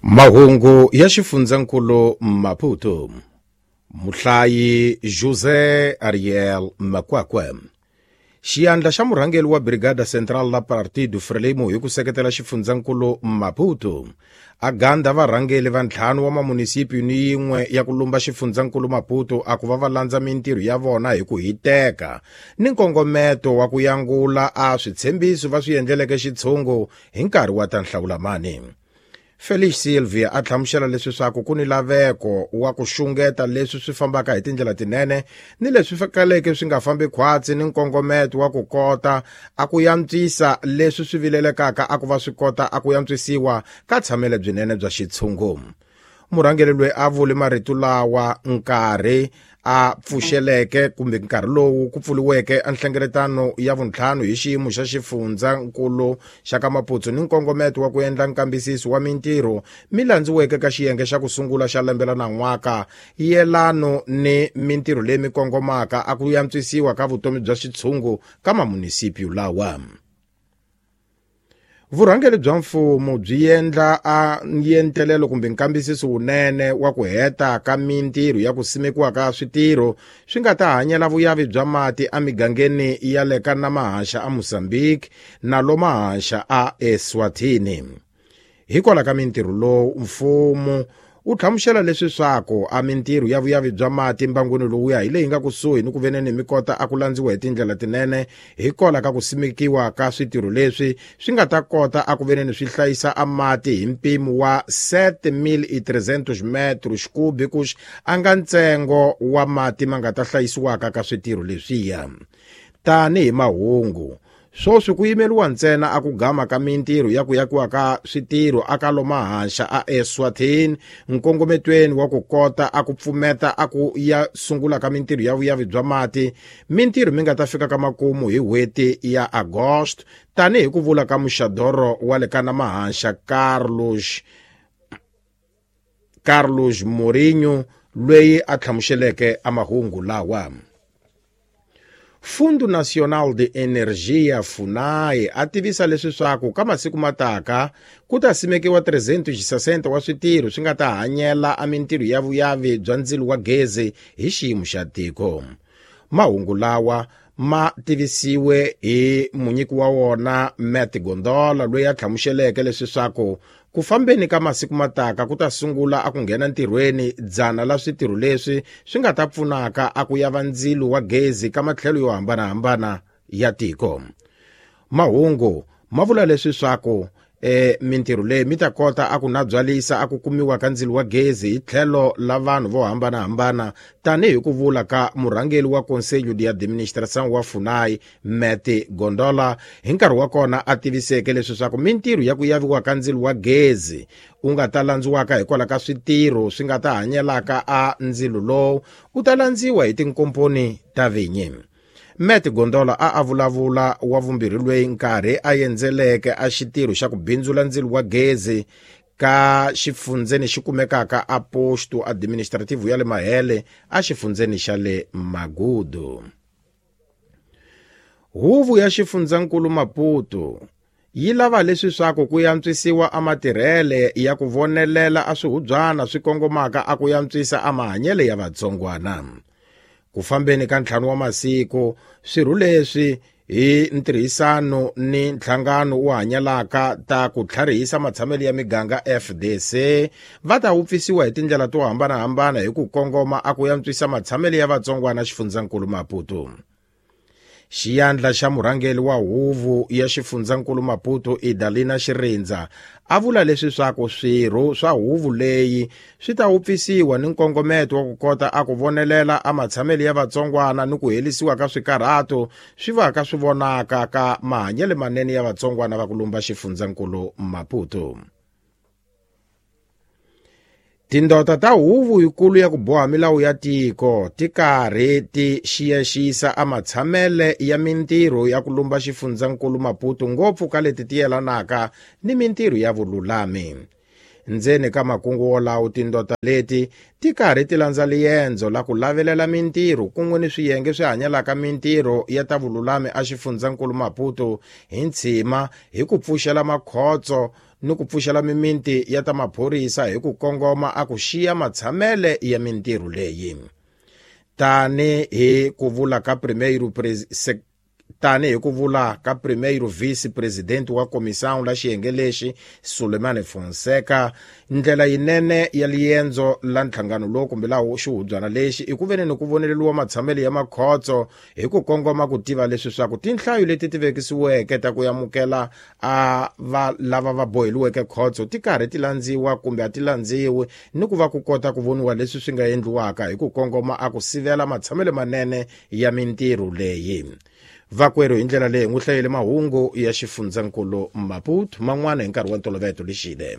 Mahungu ya xifundzankulu Maputo. Muhlayi José Ariel Makwakwe. Xiyandla xa murhangeri wa Brigada Central la Partido Frelimo hi ku seketela xifundzankulu Maputo a gandha varhangeri va ntlhanu wa mamunisipi ni yin'we ya ku lumba xifundzankulu Maputo a ku va va landza mintirho ya vona hi ku hiteka ni nkongometo wa ku yangula a switshembiso va swi endleleke xitshungu hi nkarhi wa ta nhlawulamani. Felix Silvia a hlamusela leswi swaku ku ni laveko wa ku xungeta leswi swi fambaka hi tindlela tinene ni leswi kaleke swi nga fambi khwatsi ni nkongometo wa ku kota a ku yantswisa leswi swi vilelekaka a ku va swi kota a ku yantswisiwa ka tshamele byinene bya xitshungu. Murhangeri loyi a vule marito lawa nkarhi a pfuxeleke kumbe nkarhi lowu ku pfuriweke enhlengeletano ya vuntlhanu hi xiyimo xa xifundzankulu xa ka Maputo ni nkongometo wa ku endla nkambisiso wa mintirho mi landziweke ka xiyenge xa ku sungula xa lembe la nan'waka yelano ni mintirho leyi mi kongomaka a ku yantswisiwa ka vutomi bya xitshungu ka mamunisipyu lawa. Vurhangeri bya mfumo byi endla a yentelelo kumbe nkambisiso wunene wa ku heta ka mintirho ya ku simekiwa ka switirho swi nga ta hanyela vuyavi bya mati emigangeni ya le ka Namahaxa a Mozambique na Lomahaxa a Eswatini. Hikwalaho ka mintirho lowu mfumo u hlamusela leswi swaku a mintirho ya vuyavi bya mati mbangwini lowuya hi leyi nga kusuhi ni ku veneni mi kota a ku landziwa hi tindlela tinene hikwalaho ka ku simekiwa ka switirho leswi swi nga ta kota a ku veneni swi hlayisa a mati hi mpimo wa 7300 metros cúbicos a nga ntsengo wa mati ma nga ta hlayisiwaka ka switirho leswiya. Tanihi mahungu swoswi ku yimeriwa ntsena a ku gama ka mintirho ya ku yakiwa ka switirho a ka Lomahaxa a Eswatini nkongometweni wa ku kota a ku pfumeta a ku ya sungula ka mintirho ya vuyavi bya mati mintirho mi nga ta fika ka makumu hi n'hweti ya August tanihi ku vula ka muxadoro wa le ka Namahaxa Carlos Mourinho loyi a hlamuseleke a mahungu lawa. Fundo Nacional de Energia FUNAI a tivisa leswi swaku ka masiku mataka ku ta simekiwa 360 wa switirho swi nga ta hanyela a mintirho ya vuyavi bya ndzilo wa gezi hi xiyimo xa tiko. Mahungu lawa ma tivisiwe hi munyiki wa wona Matt Gondola loyi a hlamuseleke leswi swaku ku fambeni ka masiku mataka ku ta sungula a ku nghena ntirhweni dzana la switirho leswi swi nga ta pfunaka a ku yava ndzilo wa gezi ka matlhelo yo hambanahambana ya tiko. Mahungu ma vula leswi swaku mintirho leyi mi ta kota a ku nabyalisa a ku kumiwa ka ndzilo wa gezi hi tlhelo la vanhu vo hambanahambana tanihi ku vula ka murhangeri wa Conselho de Administração wa FUNAI Matt Gondola hi nkarhi wa kona a tiviseke leswi swaku mintirho ya ku yaviwa ka ndzilo wa gezi u nga ta landziwaka hikwalaho ka switirho swi nga ta hanyelaka a ndzilo lowu u ta landziwa hi tinkomponi ta vinyi. Matt Gondola a a vulavula wa vumbirhi loyi nkarhi a endzeleke a xitirho xa ku bindzula ndzilo wa gezi ka xifundzeni xi kumekaka a posto administrativo ya le Mahele a xifundzeni xa le Magudu. Huvo ya xifundzankulu Maputo yi lava leswi swaku ku yantswisiwa a matirhele ya ku vonelela a swihubyana swi kongomaka a ku yantswisa a mahanyelo ya vatsongwana. Ku fambeni ka ntlhanu wa masiku swirho leswi hi ntirhisano ni nhlangano wo hanyalaka ta ku tlharihisa matshamelo ya miganga FDC va ta wupfisiwa hi tindlela to hambanahambana hi ku kongoma a ku yantswisa matshamelo ya vatsongwana xifundzankulu Maputo. Xiyandla xa murhangeri wa huvo ya xifundzankulu Maputo Idalina Xirindza a vula leswi swaku swirho swa huvo leyi swi ta wupfisiwa ni nkongometo wa ku kota a ku vonelela a matshamelo ya vatsongwana ni ku helisiwa ka swikarhato swi va ka swi vonaka ka mahanyelo manene ya vatsongwana va ku lumba xifundzankulu Maputo. Tindota ta huvo yikulu ya ku boha milawu ya tiko ti karhi ti xiyaxisa a matshamele ya mintirho ya ku lumba xifundzankulu Maputo ngopfu ka leti ti yelanaka ni mintirho ya vululami. Ndzeni ka makungu wolawo tindota leti ti karhi ti landza liendzo la ku lavelela mintirho kun'we ni swiyenge swi hanyelaka mintirho ya ta vululami a xifundzankulu Maputo hi ntshima hi ku pfuxela makhotso ni ku pfuxela mimiti ya ta maphorisa hi ku kongoma a ku xiya matshamele ya mintirho leyi. Tani hi ku vula ka primeiro tani hi ku vula ka primeiro vice-presidente wa comissão la xiyenge lexi Sulemane Fonseca, ndlela yinene ya liendzo la nhlangano lowu kumbe la xihubyana lexi i ku veni ni ku voneleriwa matshamelo ya makhotso hi ku kongoma ku tiva leswi swa ku tinhlayo leti ti vekisiweke ta ku amukela a va lava va boheliweke khotso ti karhi ti landziwa kumbe a ti landziwi, ni ku va ku kota ku voniwa leswi swi nga endliwaka hi ku kongoma a ku sivela matshamelo manene ya mintirho leyi. Vakwerhu hi ndlela leyi n'wi hlayele mahungu ya xifundzankulu Maputo, man'wana hi nkarhi wa ntoloveto lexile.